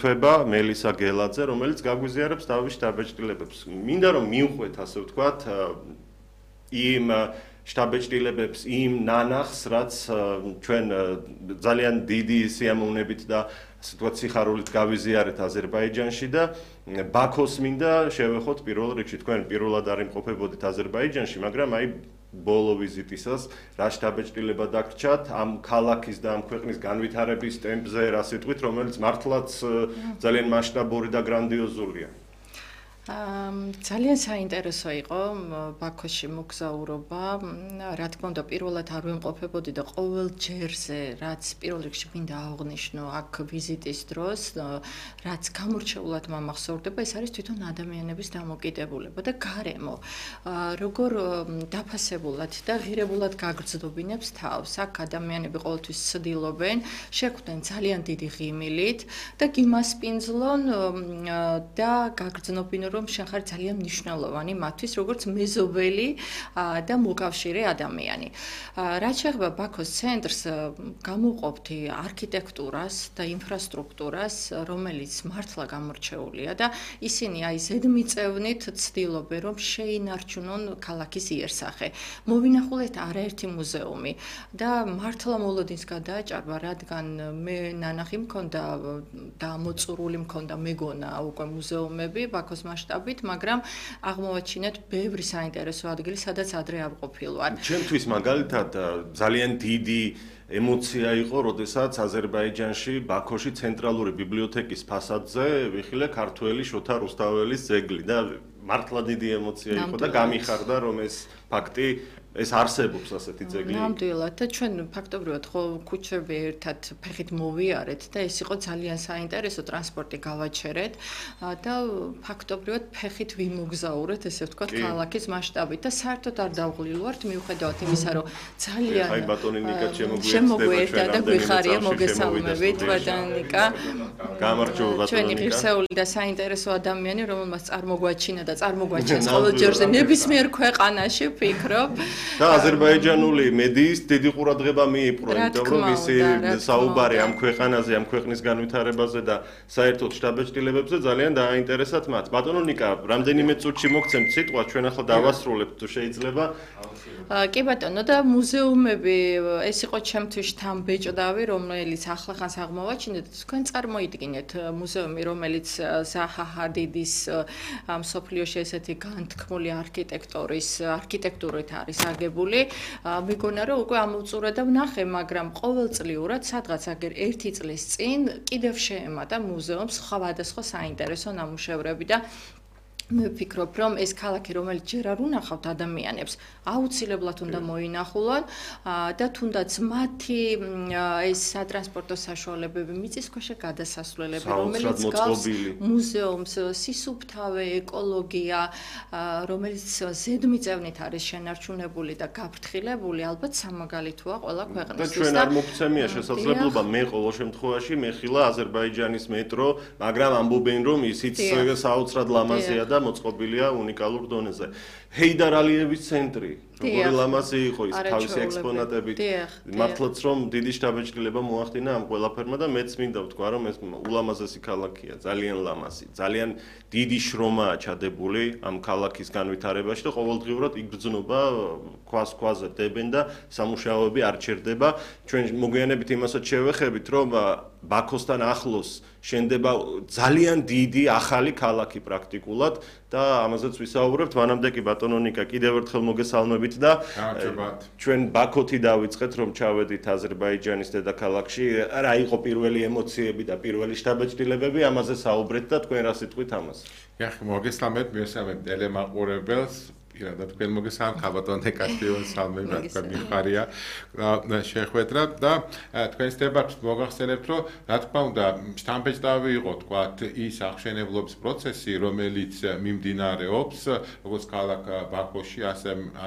თვება მელისა გელაძე, რომელიც გაგვიზიარებს თავის შტაბ-ბეჭდილებებს. მინდა რომ მივხვეთ, ასე ვთქვათ, იმ შტაბ-ბეჭდილებებს, იმ ნანახს, რაც ჩვენ ძალიან დიდი სიამოვნებით და ასე ვთქვათ, სიხარულით გავიზიარეთ აზერბაიჯანში და ბაქოს მინდა შევეხოთ პირველ რიგში. თქვენ პირველად არ იმყოფებოდით აზერბაიჯანში, მაგრამ აი ბოლო ვიზიტისას რა შტაბ-ბეჭდილება დაგრჩათ ამ ქალაქის და ამ ქვეყნის განვითარების ტემპზე, რა სიტყვით, რომელიც მართლაც ძალიან მასშტაბური და გრანდიოზულია. ძალიან საინტერესო იყო ბაქოში მოგზაურობა. რა თქმა უნდა, პირველად არ ვიმყოფებოდი და ყოველ ჯერზე, რაც პირველ რიგში მინდა აღვნიშნო აქ ვიზიტის დროს, რაც გამორჩეულად მომახსოვრდება, ეს არის თვითონ ადამიანების დამოკიდებულება და გარემო. როგორ დაფასებულად და ღირებულად გაგრძნობინებს თავს. აქ ადამიანები ყოველთვის ცდილობენ, შეხვდნენ ძალიან დიდი ღიმილით და გიმასპინძლონ და გაგრძნობინონ რომ შენ ხარ ძალიან მნიშვნელოვანი მათთვის როგორც მეზობელი და მოკავშირე ადამიანი. რაც შეეხება ბაქოს ცენტრს, გამოვყოფთ არქიტექტურას და ინფრასტრუქტურას, რომელიც მართლა გამორჩეულია და ისინი აი ზედმიწევნით ცდილობენ რომ შეინარჩუნონ ქალაქის იერსახე. მოვინახულეთ არაერთი მუზეუმი და მართლა მოლოდინს გადააჭარბა, რადგან მე ნანახი მქონდა და მოწურული მქონდა მეგონა უკვე მუზეუმები ბაქოს მასშტაბით, მაგრამ აღმოვაჩინეთ ბევრი საინტერესო ადგილი, სადაც ადრე არ ყოფილვარ. ჩემთვის მაგალითად ძალიან დიდი ემოცია იყო, როდესაც აზერბაიჯანში, ბაქოში ცენტრალური ბიბლიოთეკის ფასადზე ვიხილე ქართველი შოთა რუსთაველის ძეგლი და მართლა დიდი ემოცია იყო და გამიხარდა რომ ეს ფაქტი ეს არსებობს ასეთი ძეგლი. ნამდვილად და ჩვენ ფაქტობრივად ხო ქუჩები ერთად ფეხით მოვიარეთ და ეს იყო ძალიან საინტერესო ტრანსპორტი გავაჩერეთ და ფაქტობრივად ფეხით ვიმოგზაურეთ, ესე ვთქვათ, ქალაქის მასშტაბით და საერთოდ არ დავღლილვართ მიუხედავად იმისა, რომ ძალიან აი ბატონი ნიკა შემოგვიერთდა და გვიხარია მოგესალმებით ბატონი ნიკა. გამარჯობა ბატონი ჩვენი ღირსეული და საინტერესო ადამიანი, რომელმაც წარმოგვაჩინა და წარმოგვაჩენს ყოველ ჯერზე ნებისმიერ ქვეყანაში, ვფიქრობ. და აზერბაიჯანული მედიის დიდი ყურადღება მიიპყრო, იმიტომ რომ ისი საუბარი ამ ქვეყანაზე, ამ ქვეყნის განვითარებაზე და საერთოდ შტაბ-ბეჭდილებებზე ძალიან დააინტერესათ მათ. ბატონო ნიკა, რამდენიმე წუთში მოგცემთ სიტყვა, ჩვენ ახლა დავასრულებთ თუ შეიძლება. კი ბატონო და მუზეუმები, ეს იყო ჩემთვის შთამბეჭდავი, რომელიც ახლახანს აღმოვაჩინეთ. თქვენ წარმოიდგინეთ მუზეუმი, რომელიც ზაჰა ჰადიდის მსოფლიოში ესეთი განთქმული არქიტექტურით არის აგებული. მეგონა რომ უკვე ამოვწურა და ვნახე, მაგრამ ყოველწლიურად სადღაც აგერ 1 წლის წინ კიდევ შეემატა მუზეუმს სხვადასხვა საინტერესო ნამუშევრები და მე ვფიქრობ, რომ ეს ქალაქი, რომელიც ჯერ არ უნახავთ ადამიანებს, აუცილებლად უნდა მოინახულონ და თუნდაც მათი ეს სატრანსპორტო საშუალებები, მიწისქვეშა გადასასვლელები, რომელიც გავს მუზეუმს, სისუფთავე, ეკოლოგია, რომელიც ზედმიწევნით არის შენარჩუნებული და გაფრთხილებული, ალბათ სამაგალითოა ყველა ქვეყნისთვის. და ჩვენ არ მოგცემია შესაძლებლობა, მე ყოველ შემთხვევაში მეხილა აზერბაიჯანის მეტრო, მაგრამ ამბობენ, რომ ისიც საოცრად ლამაზია და მოწყობილია უნიკალურ დონეზე. ჰეიდარ ალიევის ცენტრი, როგორი ლამაზი იყო ის თავისი ექსპონატებით. მართლაც რომ დიდი შტაბ-ბეჭდილება მოახდინა ამ ყველაფერმა და მეც მინდა ვთქვა, რომ ეს ულამაზესი ქალაქია, ძალიან ლამაზი, ძალიან დიდი შრომაა ჩადებული ამ ქალაქის განვითარებაში და ყოველდღიურად იგრძნობა, ქვას-ქვაზე დებენ და სამუშაოები არ ჩერდება. ჩვენ მოგვიანებით იმასაც შევეხებით, რომ ბაქოსთან ახლოს შენდება ძალიან დიდი ახალი ქალაქი პრაქტიკულად და ამაზეც ვისაუბრებთ. მანამდე კი ბატონო ნიკა კიდევ ერთხელ მოგესალმებით და ჩვენ ბაქოთი დავიწყეთ რომ ჩავედით აზერბაიჯანის დედაქალაქში. რა იყო პირველი ემოციები და პირველი შტაბ-ბეჭდილებები, ამაზე საუბრეთ და თქვენ რა სიტყვით ამას? ეხლა მოგესალმებით, მივესალმებით ტელემაყურებელს. პირადად თქვენ მოგესალმებით, ბატონო ნიკასტიონ სალმე რა მიხარია შეხვედრა და თქვენს დებატს მოგახსენებთ, რომ რა თქმა უნდა შთამბეჭდავი იყო თქვათ ის აღშენებლობის პროცესი, რომელიც მიმდინარეობს როგორც ქალაქ ბაქოში,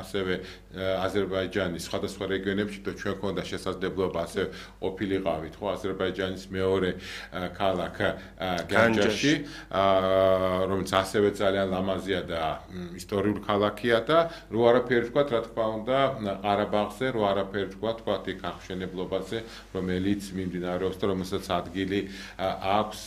ასევე აზერბაიჯანის სხვადასხვა რეგიონებში და ჩვენ ქონდა შესაძლებლობა ასე ყოფილიყავით, ხო, აზერბაიჯანის მეორე ქალაქ განჯაში, რომელიც ასევე ძალიან ლამაზია და ისტორიული ქალაქია და რო არაფერი თქვა, რა თქმა უნდა, ყარაბაღზე, რო არაფერი თქვა, იქ აღშენებლობაზე, რომელიც მიმდინარეობს და რომელსაც ადგილი აქვს